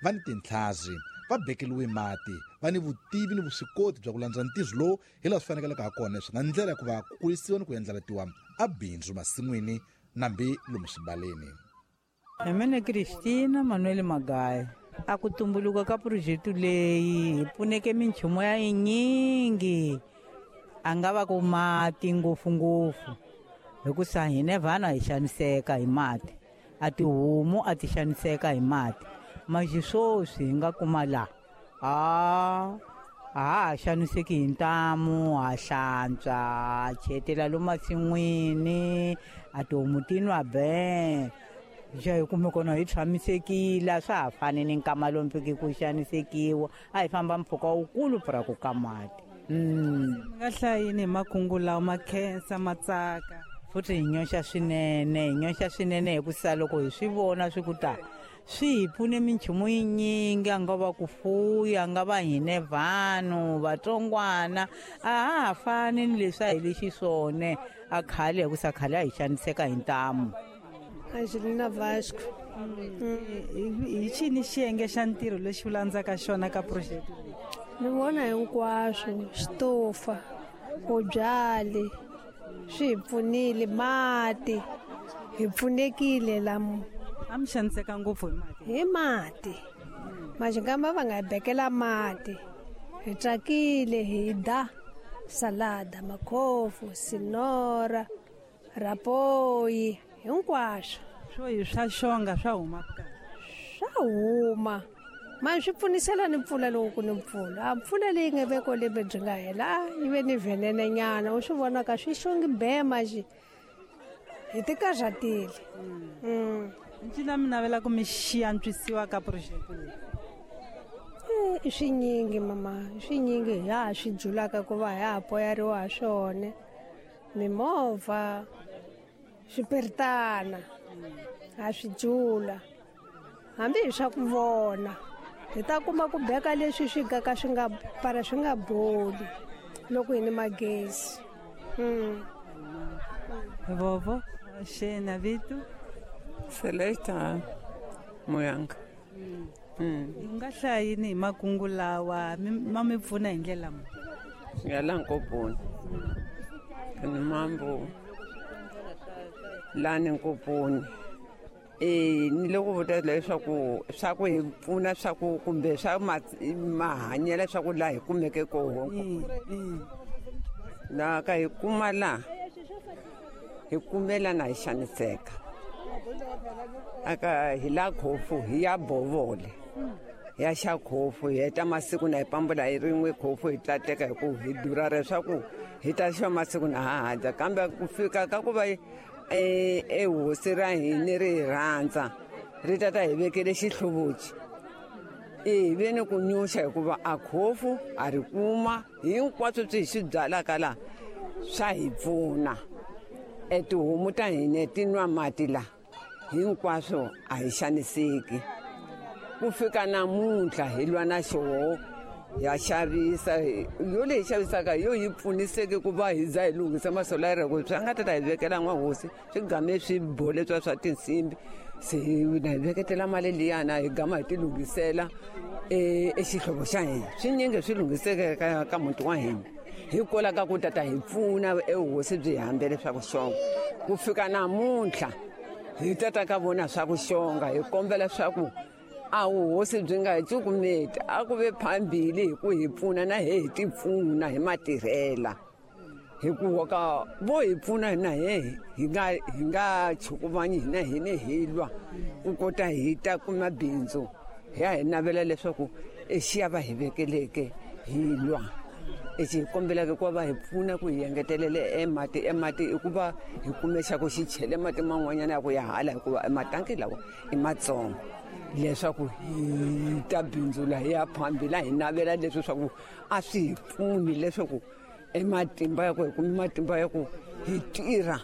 Va ni tintlhazi, va bekeliwe mati, va ni vutivi ni vuswikoti bya ku landza ntirho lowu hi laha swi fanekelaka ha kona, swi nga ndlela ya ku va ku kurisiwa ni ku endlalatiwa a bindzu masin'wini nambi lomu swibaleni. Hi mina Christina Manuel Magaya. A ku tumbuluka ka phurojeke leyi hi pfuneke minchumu ya yinyingi, a nga va ku mati ngopfungopfu, hikusa hine vana hi xaniseka hi mati, a tihomu a ti xaniseka hi mati. Manje sweswi hi nga kuma laha a ha xaniseki hi ntamu, ha hlantswa, ha chetela lomu masin'wini, a tihomu ti nwa be xa hi kume kona hi tshamisekile. A swa ha fani ni nkama lomu fiki ku xanisekiwa, a hi famba mpfhuka wukulu pura ku ka mati. Mi nga hlayini hi makungu lawa ma khensa ma tsaka? Futhi hi nyoxa swinene, hi nyoxa swinene, hikusa loko hi swi vona swi ku ta swi hi pfune minchumu yinyingi, a nga va ku fuya, a nga va hine vanhu vatsongwana, a ha ha fani ni leswi a hi lexi swone a khale, hikusa khale a hi xaniseka hi ntamu. Angelina Vasco. Hi xini xiyenge xa ntirho lexi u landzaka xona ka phurojeke leyi? Ni vona hinkwaswo, xitofa, vubyali, swi hi pfunile, mati, hi pfunekile lamu. A mi xaniseka ngopfu hi mati? Hi mati. Majingamba va nga hi bekela mati. Hi tsakile, hi da salada, makhofu, sinora, rapoyi, hinkwaswo. Swo hi swa xonga swa huma ka? Swa huma. Manje swi pfunisela ni mpfula loko ku ni mpfula. A mpfula leyi nga ve ko lembe byi nga hela, yi ve ni venene nyana, u swi vona ka swi xongi be manje. Hi ti karhatile. Ncila mi navela ku mi xi antswisiwa ka phurojeke leyi? I swinyingi mama, i swinyingi hi ha swi dzulaka ku va hi ha poyariwa ha swona. Mimovha, swipiritana, ha swi dzula. Hambi hi swa ku vona, hi ta kuma ku beka leswi swi gaka swi nga para swi nga boli loko hi ni magezi. Vovo, xena vito? Celesta Muyanga. U nga hlaya yini hi makungu lawa ma mi pfuna hi ndlela muni? Ya la Nkoponi. Ni mambo lani Nkoponi. Ni le ku vula leswaku swa ku hi pfuna swa ku kumbe swa mahanyelo swa ku laha hi kumeke koho. Laha ka hi kuma laha, hi kumela na hi xaniseka. Aka hi la khofu hi ya bovole. Ya xa khofu hi heta masiku na hi pambula hi rin'we khofu hi tlateka hi ku hi durha leswaku hi ta xa masiku na ha ha dya. Kambe ku fika ka ku va e hosi ra hina ri hi rhandza, ri ta ta hi vekele xihluvuchi. Hi ve ni ku nyuxa hikuva a khofu a ri kuma hinkwaswo swi hi swi byalaka laha swa hi pfuna. E tihomu ta hina ti nwa mati laha, hinkwaswo a hi xaniseki. Ku fika namuntlha hi lwa na xoho, ya xavisa, yo leyi xavisaka yo yi pfuniseke ku va hi za hi lunghisa masolara, ku swi nga ta ta hi vekela n'wahosi, swi game swi bole swa swa tinsimbi. Se na hi veketela mali liyana hi gama hi ti lunghisela e xihlovo xa hina. Swinyingi swi lunghiseke ka muti wa hina. Hikwalaho ka ku tata hi pfuna ehosi byi hi hambele swa ku xonga. Ku fika namuntlha hi tata ka vona swa ku xonga, hi kombela swa ku a vuhosi byi nga hi cukumeti, a ku ve phambili hi ku hi pfuna na he hi ti pfuna hi matirhela. Hikuva ka vo hi pfuna hina he hi nga chukuvanyi hina hine hi lwa ku kota hi ta kuma bindzu. Hi ya hi navela leswaku exiya va hi vekeleke hi lwa. Lexi hi kombelaka ku va hi pfuna ku hi engetelele emati, emati i ku va hi kume xa ku xi chele mati man'wanyana ya ku ya hala, hikuva ematanki lawa i matsongo, leswaku hi ta bindzula hi ya phambili. Hi navela leswi swa ku a swi hi pfuni leswaku ematimba ya ku hi kume matimba ya ku hi tirha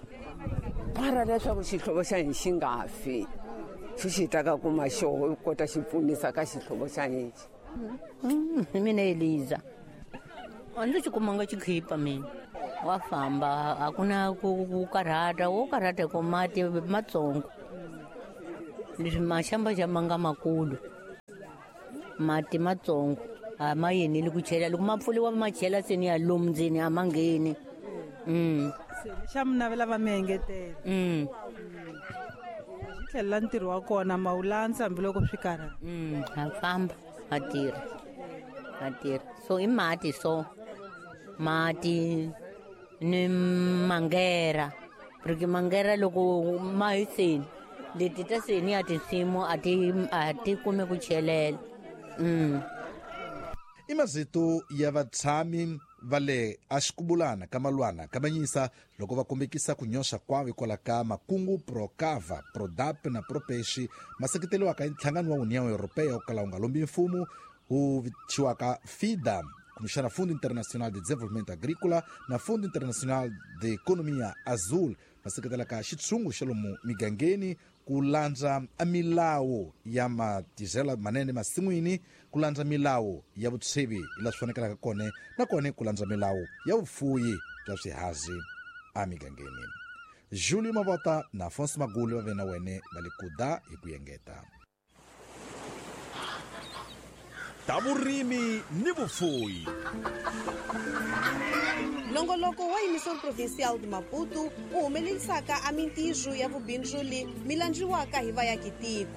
para leswaku xihlovo xa hina xi nga fi. Xi xi ta ka kuma xoho kota xi pfunisa ka xihlovo xa hina. Mina Eliza. A ndzi xi kumanga xikhipa mina. Wa famba, a ku na ku karhata, wo karhata hi ku mati matsongo. Leswi maxamba xa ma nga makulu. Mati matsongo a ma yeneli ku chela, loko ma pfuriwa ma chela seni ya lomu ndzeni a ma ngheni. Se xa mi navela va mi engetela. Xi tlhelela ntirho wa kona ma wu landza hambiloko swi karhala. Ha famba ha tirha, ha tirha. So i mati, so mati ni mangera, porque mangera loko ma hi seni leti ta seni ya tinsimu a ti kumi ku chelela. I mazito ya vatshami va le axikubulana ka Malwana ka Manyisa loko va kombekisa ku nyoxa kwavo hikwalaho ka makungu Procava, Prodap na Propexi ma seketeriwaka hi nhlangano wa União Europeia wo kala wu nga lombi mfumo wu vitiwaka FIDA, kumbexana Fundo Internacional de Desenvolvimento Agrícola na Fundo Internacional de Economia Azul, va seketelaka xitshungu xa lomu migangeni ku landza a milawu ya matizelo manene masin'wini, ku landza milawu ya vutshevi hi laha swi fanekelaka kona, na kona ku landza milawu ya vufuyi bya swihazi emigangeni. Julio Mavota na Afonso Magulu va ve na wene va le kuda hi ku engeta. Ta vurimi ni vufuyi. Nongoloko wa Emissão Provincial de Maputo wu humelerisaka a mintirho ya vubindzuli mi landziwaka hi vayakitiko.